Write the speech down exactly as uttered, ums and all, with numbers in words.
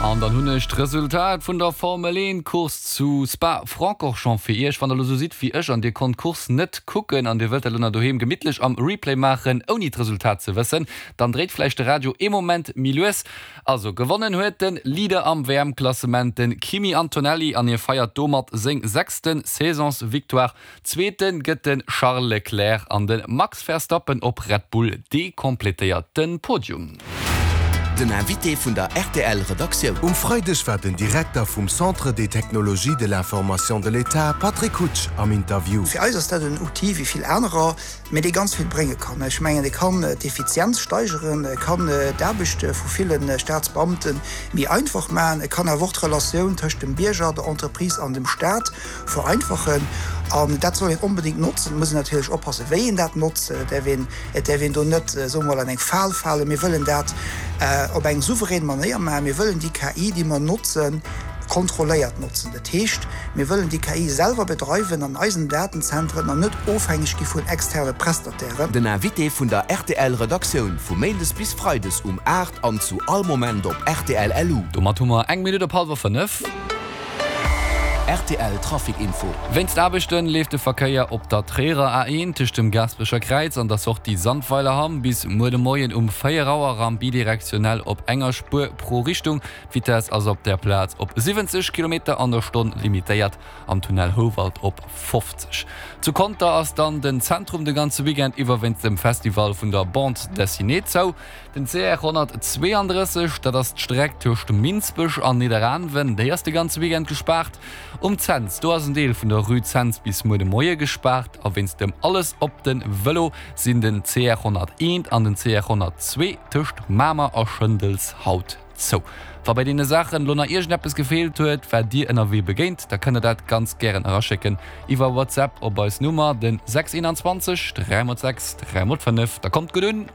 An dann hunn ech d'Resultat vun der Formel een Course zu Spa-Francorchamps fir iech. Wann der lo sou sidd wéi ech an dir konnt d'Course net kucken an dir wëllt dat lo doheem gemittlech am Replay maachen, ouni d'Resultat ze wëssen, dann dréit vläicht de Radio ee Moment méi lues. Also gewonnen huet de Leader am W M-Klassement, de Kimi Antonelli, an hie feiert domat seng sechste Saisonsvictoire. Zweete gëtt de Charles Leclerc an de Max Verstappen op Red Bull, dee kompletéiert de Podium. Den Invité vun der R T L Redaktioun. Um Freideg war den Direkter vum Centre des technologies de l'information de l'État, Patrick Hutsch, am Interview. Fir eis ass dat en Outil wéi vill anerer, mee dee ganz vill brénge kann. Ech mengen, e kann d'Effizienz steigeren, e kann d'Aarbecht vu ville Staatsbeamte méi einfach maachen, e kann awer och d'Relatioun tëscht dem Bierger, der Entreprise an dem Staat vereinfachen. An dat soll een onbedéngt notzen, muss een natierlech oppassen, wéi een dat notzt, et däerf een, et däerf een do net, soe mer mol, an eng Fal falen. Mir wëllen dat op eng souverän Manéier maachen. Mir wëllen déi K I, déi mer notzen, kontrolléiert notzen. Dat heescht, mir wëllen déi K I selwer bedreiwen an eisen Datenzentren an net ofhängeg gi vun externe Prestatairen. Den Invité vun der R T L Redaktioun vu Méindes bis Freides um aacht an zu all Moment op R T L L U. Domat hu mer eng Minutt op hallwer fënnef. R T L Trafic Info. Wéinst Aarbechten leeft de Verkéier op der Tréierer A eent tëscht dem Gaasperecher Kräiz an der Sortie Sandweilerhamm bis muer de Moien um véier Auer am bidirektionell op enger Spuer pro Richtung. D'Vitess ass op där Plaz op siwwenzeg Kilometer an der Stonn limitéiert, am Tunnel Houwald op fofzeg. Zu Conter ass dann den Zentrum de ganze Weekend iwwer wéinst dem Festival vun der Bande Dessinée zou. Den C R honnertzweeandrësseg, dat ass d'Streck tëscht Minsbech an Nidderaanwen, déi ass de ganze Weekend gespaart. Um Cents, do ass en Deel vun der Rue Cents bis muer de Moie gespaart a wéinst dem Alles op de Vëlo sinn den C R honnerteent an den C R honnertzwee tëscht Mamer a Schëndels haut zou. Wa bei deene Saachen lo nach iergendeppes gefeelt huet, wat dir ënnerwee begéint, da kënnt der dat ganz gären eraschécken iwwer WhatsApp op eis Nummer, den sechs eenanzwanzeg dräi mol sechs dräi mol fënnef. Da kommt gutt un!